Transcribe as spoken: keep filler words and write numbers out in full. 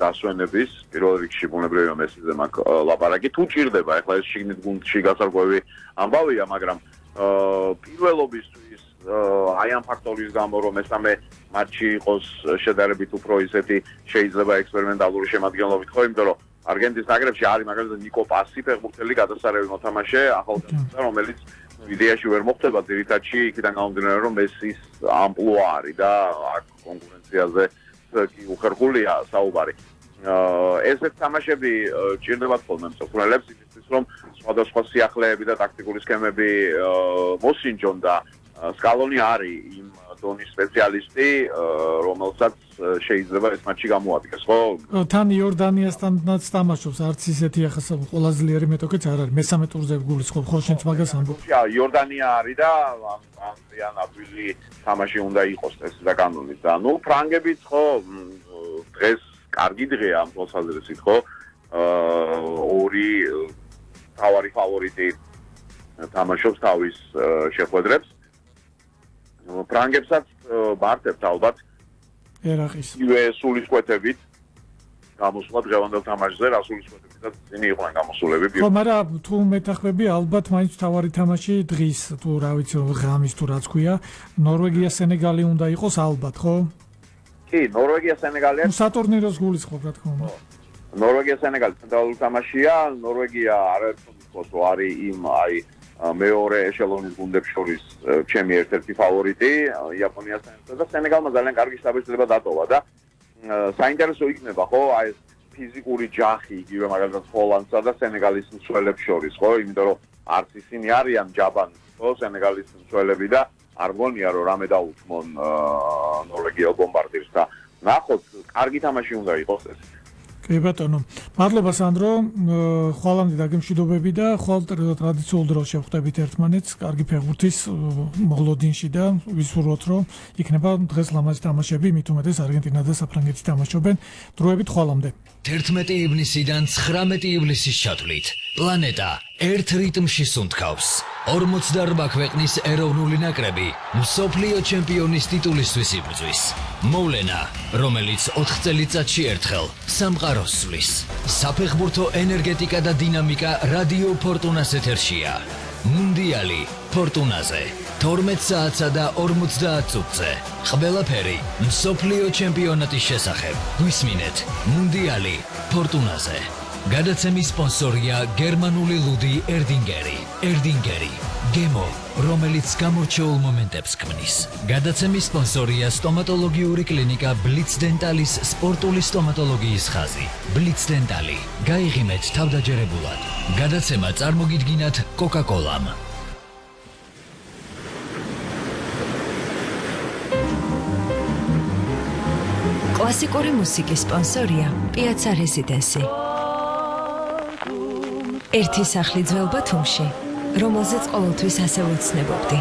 დასვენების პირველ რიგში ბუნებრივი მესიზე მაქვს ლაპარაკი თუ ჭირდება ეხლა ეს შიგნით გუნდში გასარკვევი ამბავია მაგრამ პირველობისთვის აი ამ ფაქტორის გამო რომ მესამე მატჩი იყოს შედარებით უფრო ისეთი შეიძლება ექსპერიმენტალური შემადგენლობით ხო იმიტომ რომ არგენტინის ნაკრებში არის მაგალითად ნიკო პასი ფეხბურთელი გადასარევი მოთამაშე ახალგაზრდა რომელიც იდეაში ვერ მოხდება ძირითადში იქიდან გამომდინარე რომ მესის ამპლუა არის და აქ კონკურენციაზე კი უხერხულია საუბარი ესეთ თამაშები ჭირდებათ ხოლმე მსოფლმელებს იმისთვის რომ სხვადასხვა სიახლეები და ტაქტიკური სქემები მოსინჯონ და სკალონი არის იმ დონის სპეციალისტი რომელსაც შეიძლება ეს მატჩი გამოადგეს ხო თან იორდანიასთანაც თამაშობს არც ისეთი ახლა ყველაზე ძლიერი მეტოქეც არ არის მესამე ტურზე გულისხმობ ხო შენც მაგას ამბობ იორდანია არის და ამიან აბილი თამაში უნდა იყოს ეს და კანონით და ნუ ფრანგებიც ხო დღეს კარგი დღეა ამ თვალსაზრისით ხო ორი თავარი ფავორიტი თამაშობს თავის შეხვედრებს ფრანგებსაც მარტებთ ალბათ ერახის ივე სულისკვეთებით გამოსვლა დღევანდელ თამაშზე რა სულისკვეთებითაც ისინი იყვნენ გამოსულები ხო მაგრამ თუ მეთახვები ალბათ მაინც თავარი თამაში დღის თუ რა ვიცი ღამის თუ რაც ქვია ნორვეგია სენეგალი უნდა იყოს ალბათ ხო კი ნორვეგია სენეგალია სატურნიროს გულისხმობ რა თქმა უნდა ნორვეგია სენეგალი ცენტრალური თამაშია ნორვეგია არაერთი არის იმ აი მეორე ეშელონის გუნდებს შორის ჩემი ერთ-ერთი ფავორიტი იაპონიასთან ერთად და სენეგალმა ძალიან კარგი შთაბეჭდილება დატოვა და საინტერესო იქნება ხო აი ეს ფიზიკური ჯახი იგივე მაგალითად ჰოლანდსა და სენეგალის მცველებს შორის ხო იმიტომ რომ არც ისინი არიან ჯაბანი ხო სენეგალის მცველები და არ გონია რომ რამე დაუთმონ ნორვეგიელ ბომბარდირს და ნახოთ კარგი თამაში უნდა იყოს ეს კი ბატონო მადლობა სანდრო ხვალამდე დაგემშვიდობები და ხვალ ტრადიციულ დროს შევხვდებით ერთმანეთს კარგი ფეხბურთის მოლოდინში და ვისურვოთ რომ იქნება დღეს ლამაზი თამაშები მით უმეტეს არგენტინა და საფრანგეთი თამაშობენ დროებით ხვალამდე თერთმეტი ივნისიდან ცხრამეტი ივლისის ჩათვლით პლანეტა ერთ რიტმში სუნთქავს ორმოცდაორ ქვეყნის ეროვნული ნაკრები მსოფლიო ჩემპიონის ტიტულისთვის იბრძვის მოვლენა რომელიც ოთხ წელიწადში ერთხელ სამყაროს სვლის საფეხბურთო ენერგეტიკა და დინამიკა რადიო ფორტუნას ეთერშია მუნდიალი ფორტუნაზე თორმეტ საათსა და ორმოცდაათ წუთზე ყველაფერი მსოფლიო ჩემპიონატის შესახებ გვისმინეთ მუნდიალი ფორტუნაზე გადაცემის სპონსორია გერმანული ლუდი ერდინგერი ერდინგერი გემო რომელიც გამორჩეულ მომენტებს ქმნის გადაცემის სპონსორია სტომატოლოგიური კლინიკა ბლიც დენტალის სპორტული სტომატოლოგიის ხაზი ბლიც დენტალი გაიღიმეთ თავდაჯერებულად გადაცემა წარმოგიდგინათ კოკა-კოლამ კლასიკური მუსიკის სპონსორია პიაცა რეზიდენსი ერთი სახლი ძველ ბათუმში რომელზეც ყოველთვის ასე ვეცნებობდი